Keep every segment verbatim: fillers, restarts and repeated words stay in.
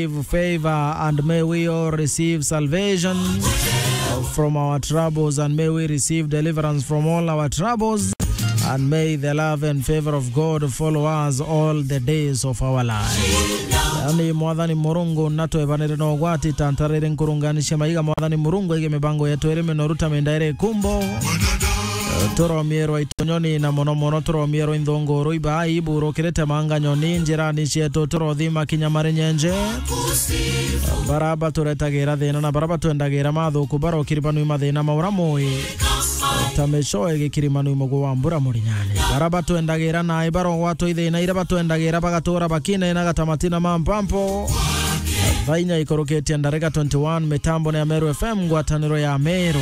receive favor, and may we all receive salvation from our troubles, and may we receive deliverance from all our troubles, and may the love and favor of God follow us all the days of our life. Yani, Mwathani Murungu, na twebanire na ugwati, tantarire nkurunganishe maiga, Mwathani Murungu, aige mibango yetu iri minoru ta minda iri ikumbo. Turomierwa itonyoni, na mono mono turomierwa inthunguru iba iburukirite manga nyoni njirani cietu, turothima kinya mari nyenje. Bara baturetagira thina na bara batwendagira mathuku, barokiribanui mathina maura mui ta micoe gikirimanui mugu wa mbura murinyani. Bara batwendagira nai barogwatwa ithina iria batwendagira, bagatura bakinainaga ta matina ma mpampo. Thaa inya ikurukitie ndarika twenty-one, mitambo ni ya Meru F M, ngwataniro ya Meru.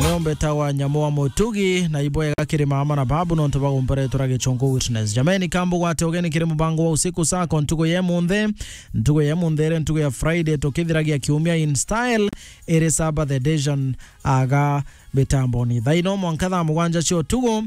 Niumbe ta wa nyamu wa mutugi, na ibwega kiri mama na babu, nontu bagumperetura gichungu witness. Jameni, kambu gwate ugeni kiri mubango wa usiku sako ntuku ye munthi, ntuku ye munthi iri ntuku ya Friday, tukithiragia kiumia in style, iri Sabbath edition aga mitamboni. Thaa ino mwanka thaa mugwanja cia utuku,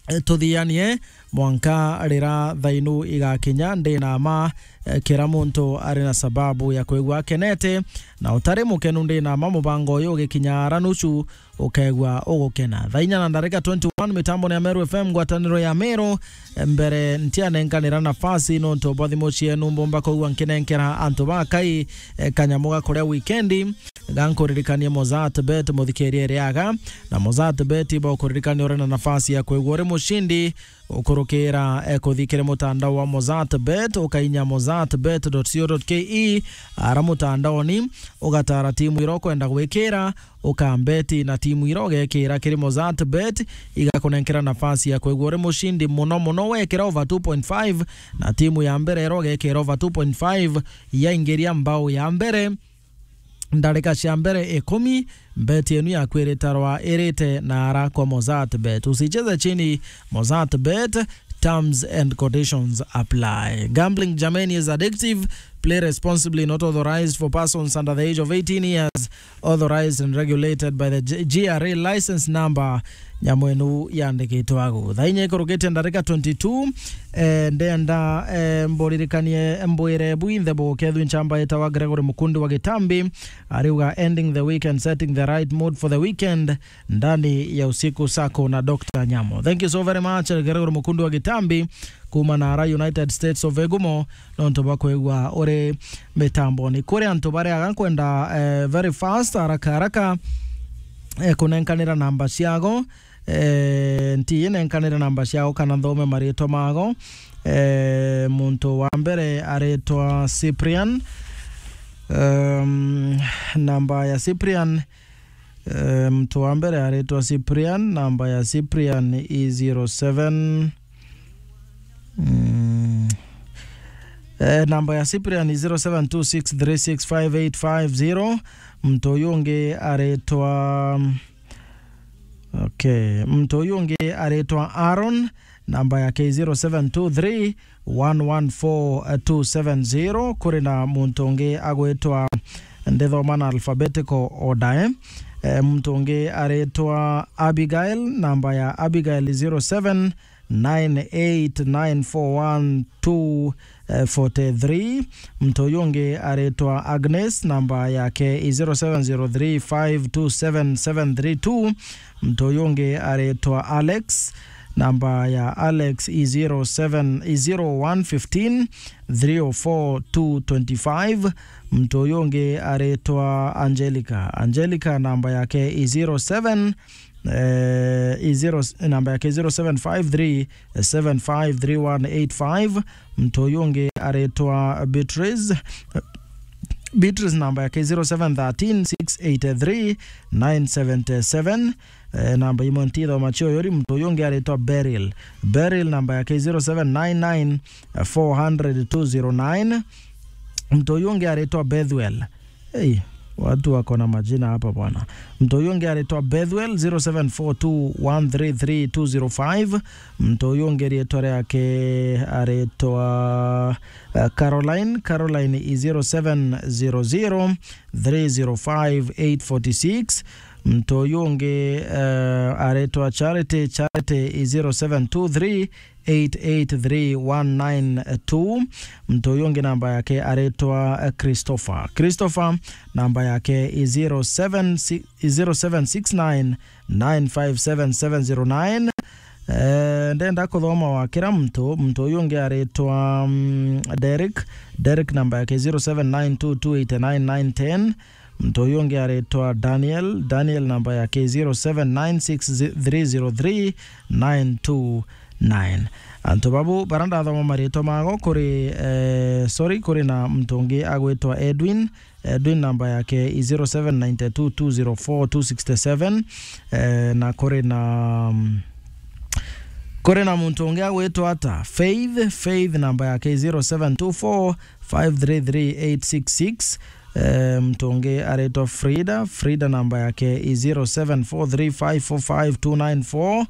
eh, tuthianie mwanka rira thainu igakinya. Ndi na ma, eh, kira muntu ari na sababu ya kwigua akenete, na utari mukenu, ndi na ma mubango uyu ugikinya ara nusu, ukegua ugukena. Thaa inya na ndarika twenty-one, mitambo ni ya Meru F M, ngwataniro ya Meru. Mbere ntianenkanira nafasi nontu bwa thimu cienu, mbumba kwigua nkinenkera antu ba Kai, eh, kanyamu ga kuria wikendi. Ga nkuririkanie Mozart Bet, muthikirie riaga, na Mozart Bet iba ukuririkania uri na nafasi ya kwigua uri mucindi ukurukira, eh, kuthi kiri mutandao wa Mozart Bet, ukainya mozart bet dot co dot ke, ara mutandaoni, ugatara timu iria ukwenda gwikira, ukambeti na timu iria ugekira kiri Mozart Bet, igakunenkera nafasi ya kwigua uri mucindi. Mono mono wekira over two point five, na timu ya mbere iria ugekira over two point five yaingiria mbao ya mbere ndarika cia mbere ikumi, mbeti yenu yaku iritarwa irite na ara kwa Mozart Bet. Usicheze chini, Mozart Bet, terms and conditions apply. Gambling, jameni, is addictive. Play responsibly, not authorized for persons under the age of eighteen years, authorized and regulated by the G-, G R A license number. Nyamu inu yandikitwe agu. Thaa inya ikurukitie ndarika twenty-two, eh, ndenda, eh, mburirikanie, mbwire bwinthe bukethwi nchamba yetawa Gregory Mukundi wa Gitambi, ariuga, "Ending the week and setting the right mood for the weekend ndani ya usiku sako na Doctor Nyamo." Thank you so very much, Gregory Mukundi wa Gitambi, kuma na ara United States of Egumo, nontu bwa kwigua uri mitamboni. Kuri antu baria aga nkwenda, eh, very fast, haraka haraka, eh, kunenkanira namba ciago, eh, nti nenkanire namba ciao kana nthome maritwa mago. Eh, muntu wa mbere aritwa Cyprian. Um, namba ya Cyprian, eh, muntu wa mbere aritwa Cyprian, namba ya Cyprian i zero seven. Mm. Eh, namba ya Cyprian i zero seven two six three six five eight five zero. Muntu uyu ungi aritwa Okay, muntu uyu ungi aritwa Aaron, namba yake i zero seven two three one one four two seven zero. Kuri na muntu ungi agwitwa, ndithoma na alphabetical order, eh. Eh, muntu ungi aritwa Abigail, namba ya Abigail i zero seven nine eight nine four one two forty three. Muntu uyu ungi aritwa Agnes, namba yake i zero seven zero three five two seven seven three two. Muntu uyu ungi aritwa Alex, namba ya Alex i zero seven, i zero one fifteen three oh four two twenty five. Muntu uyu ungi aritwa Angelica. Angelica, namba yake i zero seven, eh, i zero, namba yake zero seven five three seven five three one eight five. Muntu uyu ungi aritwa Beatrice. Beatrice, namba yake zero seven thirteen six eight three nine seven seven. Eh, namba imwe ntithoma cio yori. Muntu uyu ungi aritwa Beryl. Beryl, namba yake zero seven nine nine four hundred two zero nine. Muntu uyu ungi aritwa Bethuel. Hey, watu wako na majina hapa bwana. Muntu uyu ungi aritwa Bethuel, zero seven four two one three three two zero five. Muntu uyu ungi riitwa riake aritwa, eh, Caroline. Caroline i zero seven zero zero three zero five eight forty six. Muntu uyu ungi, eh, aritwa Charity. Charity i zero seven two three eight eight three one nine two. Muntu uyu ungi namba yake aritwa, eh, Christopher. Christopher namba yake i zero seven six, i zero seven six nine nine five seven seven zero nine. Eh, ndenda kuthoma wa kira muntu. Muntu uyu ungi aritwa, mm, Derek. Derek namba yake zero seven nine two two eight nine nine ten. Muntu uyu ungi aritwa Daniel. Daniel namba yake zero seven nine six three zero three nine two nine. Antu babu bara ndathoma maritwa mago kuri, eh, sorry, kuri na muntu ungi agwitwa Edwin. Edwin namba yake i zero seven nine two two zero four two six seven. Eh, na kuri na, mm, kuri na muntu ungi agwitwa ata? Faith. Faith namba yake i zero seven two four five three three eight six six. Eh, muntu ungi aritwa Frida. Frida namba yake i zero seven four three five four five two nine four.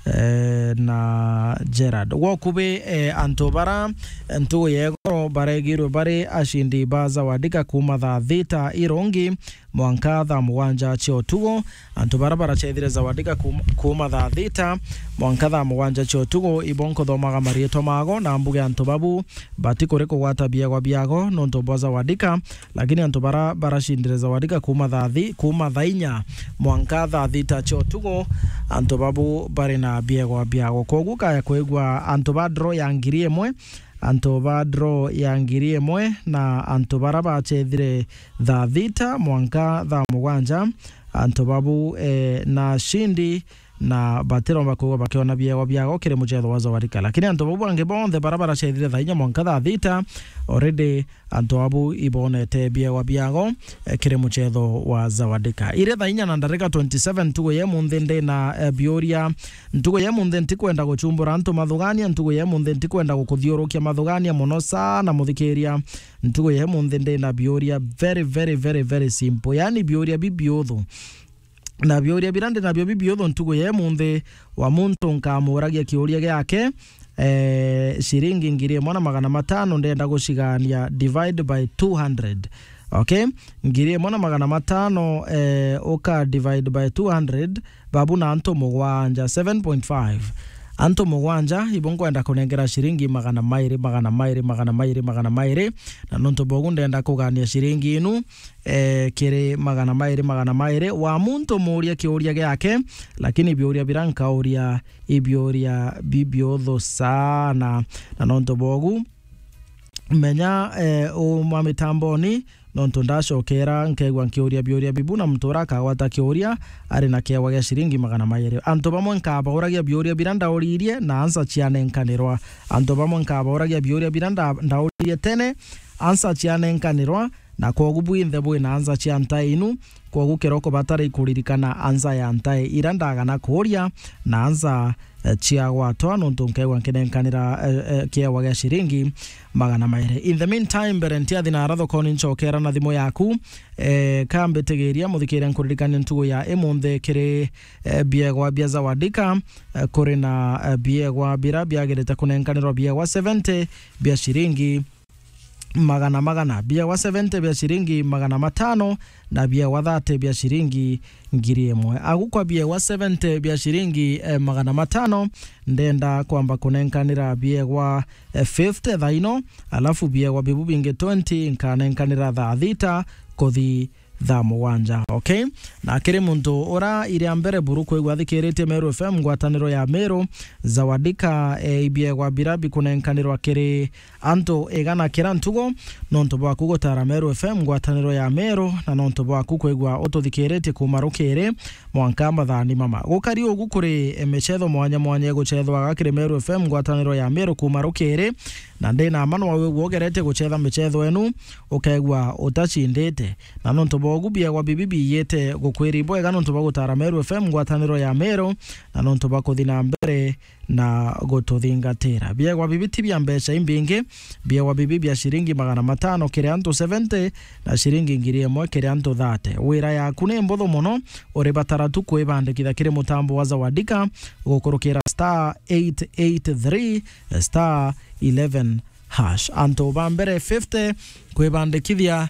Eh, na Gerard. Gwokubi, eh, antu bara, eh, ntugu yego baregirwe bari ashindi ba Zawadika kuuma thaa thita irongi mwanka thaa mugwanja cia utugu. Antu bara baracethire Zawadika kuum-, kuuma thaa thita mwanka thaa mugwanja cia utugu, ibo nkuthomaga mariitwa mago na mbuge antu babu batikuri kugwata biegwa biago nontu bwa Zawadika, lakini antu bara baracindire Zawadika kuuma thaa thi-, kuuma thaa inya mwanka thaa thita cia utugu, antu babu bari na biegwa biago. Kwogu kaya kwigua antu ba draw ya ngiri imwe, antu ba draw ya ngiri imwe na antu bara bacethire thaa thita mwanka thaa mugwanja, antu babu, eh, na ashindi na batiromba kwigua bakiona biegwa biago kiri mucetho wa Zawadika. Lakini antu babu bangi bonthe bara baracethire thaa inya mwanka thaa thita, already antu abu ibonete biegwa biago, eh, kiri mucetho wa Zawadika. Iri thaa inya na ndarika twenty seven ntugu ya imunthi ndina, eh, biuria. Ntugu ya imunthi ntikwenda gucumbura antu mathugania, ntugu ya imunthi ntikwenda gukuthiurukia mathugania mono sana muthikiria. Ntugu ya imunthi ndina biuria very, very, very, very simple. Yaani biuria bibiuthu. Na biuria bira ndi nabio bibiuthu ntugu ya imunthi, wa muntu nkamuragia kiuria giake, eh, ciringi ngiri imwe na magana matano ndenda gucigania divide by two hundred. Okay? Ngiri imwe na magana matano, eh, uka divide by two hundred, babu na antu mugwanja, seven point five. Antu mugwanja, ibo nkwenda kunengera ciringi magana mairi, magana mairi, magana mairi, magana mairi. Na nontu bogu ndenda kugania ciringi inu, eh, kiri magana mairi, magana mairi. Wa muntu muuria kiuria giake, lakini biuria bira nkauria ibiuria bibiuthu sana. Na nontu bogu, menya, eh, uma mitamboni, nontu ndacokera nkeigua nkiuria biuria bibu, na muntu ura akagwata kiuria ari na kiegwa gia ciringi magana mairi. Antu bamwe nkabauragia biuria bira ndauririe, na ansa cianenkanirwa. Antu bamwe nkabauragia biuria bira nda-, ndauririe tene, ansa cianenkanirwa, na kwogu bwinthe bwina ansa cia ntae inu, kwogu kiroko batari kuririkana ansa ya ntae ira ndagana kuuria, na ansa, eh, ciagwatwa, nontu nkeigua nkinenkanira, eh, eh, kiegwa gia ciringi magana mairi. In the meantime, mbere ntiathi nara thokoni, ncokera na thimu yaku, eh, ka mbitigiria muthikiria nkuririkania ntugu ya imunthi kiri, eh, biegwa bia Zawadika, eh, kuri na, eh, biegwa bira biagirite kunenkanirwa biegwa seventy bia ciringi magana magana, biegwa seventy bia ciringi magana matano, na biegwa thirty bia ciringi ngiri imwe. Agu kwa biegwa seventy bia ciringi, eh, magana matano, ndenda kwamba kunenkanira biegwa, eh, fifty thaa ino, alafu biegwa bibu bingi twenty nkanenkanira thaa thita kuthi thaa mugwanja, okay? Na kiri muntu ura iria mbere buru kwigua athikiritie Meru F M, ngwataniro ya Meru, Zawadika, eh, ibiegwa bira bikunenkanirwa kiri antu igana kira ntugu, nontu bwaku gutara Meru F M, ngwataniro ya Meru, na nontu bwaku kwigua ututhikiritie kuuma rukiri mwanka mathaani mama. Gukari ugu kuri, eh, micetho mwanya mwanya igucethwaga kiri Meru F M, ngwataniro ya Meru kuuma rukiri, na ndina mma nwa wigua ugerete gucetha micetho enu, ukeigua utacindite. Na nontu bwa ugu biegwa bibi biyite gukwiri bwega nontu bwa gutara Meru F M, ngwataniro ya Meru, na nontu bwa kuthi na mbere na gututhingatira. Biegwa bibi ti bia mbeca imbingi, biegwa bibi bia ciringi magana matano kiri antu seventy na ciringi ngiri imwe kiri antu thirty. Wira yaku ni mbuthu mono, uribatara tu kwibandikithia kiri mutambo wa Zawadika gukurukira star eight eight three star eleven hash. Antu ba mbere fifty kwibandikithia